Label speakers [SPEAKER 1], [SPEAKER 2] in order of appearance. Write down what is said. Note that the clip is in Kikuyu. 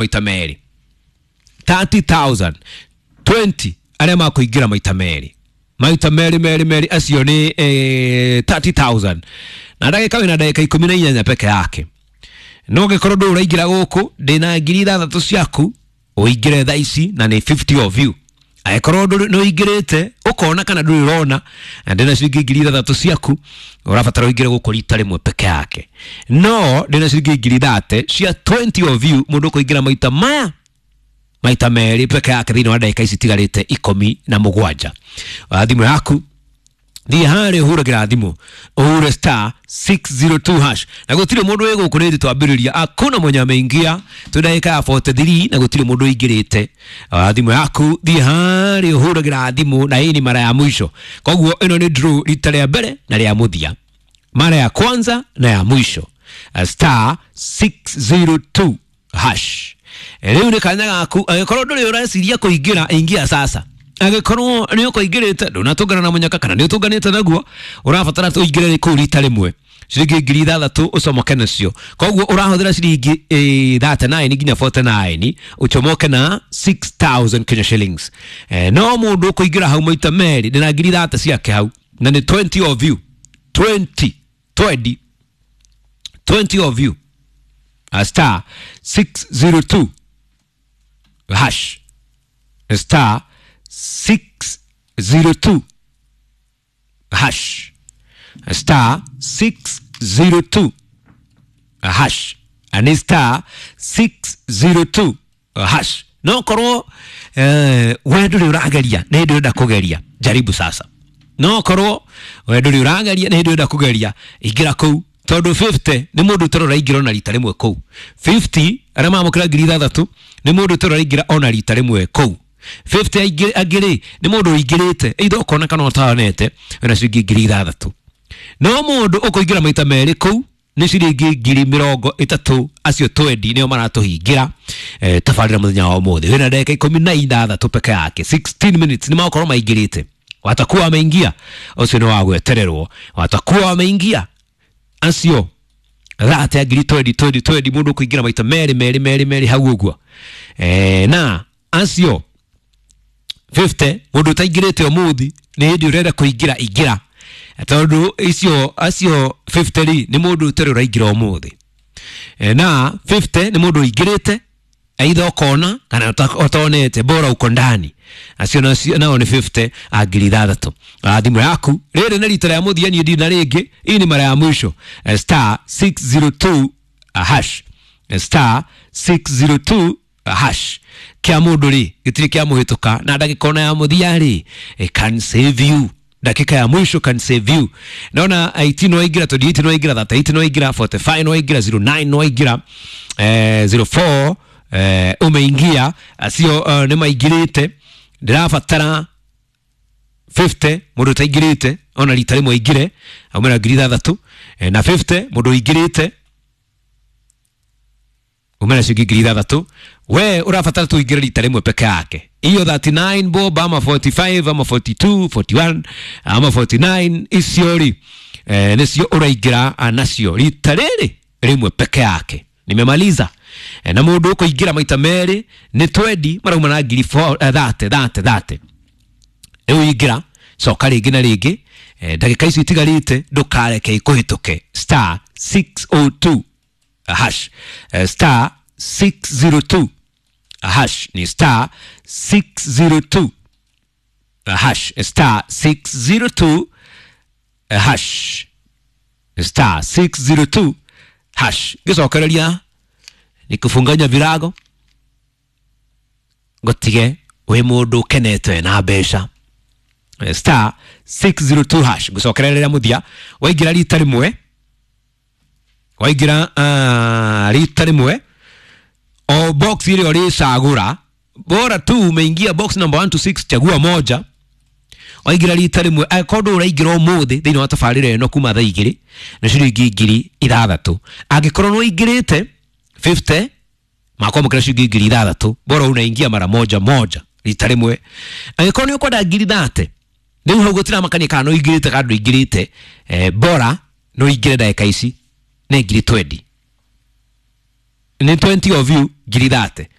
[SPEAKER 1] Maita merĩ 30,000, 20 arĩa makũingĩra maita merĩ, maita merĩ merĩ merĩ, acio nĩ 30,000, na ndagĩka wĩna ndagĩka 18 peke yake. No ngĩkorwo ndũrĩ ũraingĩra gũkũ, ndĩna 6,000 ciaku ũingĩre thaa ici, na nĩ 50 of you. Angĩkorwo nĩ ũingĩrĩte ũkona kana ndũrĩ ũrona, na ndĩna ciringi 6,000 ciaku, ũrabatara ũingĩre gũkũ rita rĩmwe peke yake. No ndĩna ciringi 30,000 cia 20 of you, mũndũ ũkũingĩra maita maya maita merĩ peke yake thĩinĩ wa ndagĩka ici itigarĩte 17. Thimũ yaku, thiĩ harĩa ũhũragĩra thimũ, ũhure star 602 hash, na gũtirĩ mũndũ wĩ gũkũ nĩ twambĩrĩria, hakuna mwenye ameingia. Twĩ ndagĩka ya 43 na gũtirĩ mũndũ ũingĩrĩte. Thimũ yaku, thiĩ harĩa ũhũragĩra thimũ, na hii ni mara ya mwisho. Koguo ĩno nĩ draw rita rĩa mbere na rĩa mũthia, mara ya kwanza na ya mwisho. Star 602 hash. Rĩu nĩ kanya gaku. Angĩkorwo ndũrĩ ũreciria kũingĩra, ingia sasa. Angĩkorwo nĩ ũkũingĩrĩte, ndũnatũngana na mũnyaka kana nĩ ũtũnganĩte naguo, ũrabatara ũingĩre kũu rita rĩmwe, ciringi 6,000 ũcomoke nacio. Koguo ũrahũthĩra ciringi 39 nginya 49 ũcomoke na 6000 Kenya shillings. No mũndũ ũkũingĩra hau maita merĩ, ndĩna 30,000 ciake hau, na nĩ 20 of you, 20 20 20 of you. Star 602 hash, star 602 hash, star 602 hash, ani star 602 hash. No korwo we ndũrĩ ũrageria, nĩ hĩndĩ ũrenda kũgeria, jaribu sasa. No korwo we ndũrĩ ũrageria, nĩ hĩndĩ ũrenda kũgeria, ingĩra kũu, tondũ 50 nĩ mũndũ ũtarĩ ũraingĩra ona rita rĩmwe kũu. 50 arĩa mamũkĩra 6,000 nĩ mũndũ ũtarĩ ũraingĩra ona rita rĩmwe kũu. 50 angĩ rĩ, nĩ mũndũ ũingĩrĩte either ũkona kana ũtaonete, wĩna ciringi 6,000. No mũndũ ũkũingĩra maita merĩ kũu nĩ ciringi 30,000. Acio twendi nĩo maratũhingĩra tabarĩra mũthenya wa ũmũthĩ. Wĩna ndagĩka 16 peke yake, 16 minutes, nĩ magokorwo maingĩrĩte, watakuwa wameingia. Ũcio nĩ wa gwetererwo, watakuwa wameingia acio thate ya ngiri twendi twendi twendi, mũndũ ũkũingĩra maita merĩ merĩ merĩ merĩ hau ũguo. Na acio 50, mũndũ ũtaingĩrĩte ũmũthĩ, nĩ hĩndĩ ũrenda kũingĩra, ingĩra, tondũ icio acio 50 rĩ, nĩ mũndũ ũtarĩ ũraingĩra ũmũthĩ. Na 50 nĩ mũndũ ũingĩrĩte aitha ũkona kana ũtonete, bora uko ndani. Acio nao nĩ 50 a 6,000. Thimũ yaku, rĩrĩ nĩ rita rĩa mũthia, niĩ ndina rĩngĩ, hii ni mara ya mwisho. Star 602 hash, star 602 hash. Kĩa mũndũ rĩ, gĩtirĩ kĩa mũhĩtũka, na ndagĩka ona ya mũthia rĩ, it can save you. Dakika ya mwisho can save you. Naona 18 no waingĩra, 28 no waingĩra, 38 no waingĩra, 45 no waingĩra, 09 no waingĩra, 04 umeingia. Acio nĩ maingĩrĩte. Ndĩrabatara 50, mũndũ ũtaingĩrĩte ona rita rĩmwe aingĩre aumĩra 6,000, na 50 mũndũ ũingĩrĩte umĩra ciringi 6,000. We ũrabatara tu ũingĩre rita rĩmwe peke yake. Hiyo 39 bob ama 45 ama 42, 41 ama 49, icio rĩ, nĩcio ũraingĩra nacio rita rĩrĩ rĩmwe peke yake. Nimemaliza. Na mũndũ ũkũingĩra maita merĩ nĩ twendi, marauma na ngiri thate thate thate. Rĩu ingĩra, coka rĩngĩ na rĩngĩ. Ndagĩka icio itigarĩte ndũkareke ikũhĩtũke. Star 602 hash, star 602 hash, ni star 602 hash, star 602 hash, star 602 hash. Gĩcokereria ni kũbunganya virago, ngũtige wĩ mũndũ ũkenete na mbeca. Star 602 hash. Ngũcokereria mũthia, waingĩra rita rĩmwe, waingĩra rita rĩmwe, o box ile ũrĩcagũra, bora tu umeingia box number 1 to 6, chagua moja. Waingĩra rita rĩmwe, angĩkorwo ndũrĩ ũraingĩra ũmũthĩ thĩinĩ wa tabarĩra ĩno kuma thaa 2, nĩ ciringi 6,000. Angĩkorwo nĩ ũingĩrĩte, 50 makwamũkĩra ciringi 6,000, bora unaingia mara moja moja, rita rĩmwe. Angĩkorwo nĩ ũkwenda 30,000, rĩu hau gũtiramakania kana nĩ ũingĩrĩte kana ndũingĩrĩte, bora nĩ ũingĩre ndagĩka ici, nĩ ngiri twendi. Nĩ 20 of you, ngiri 30.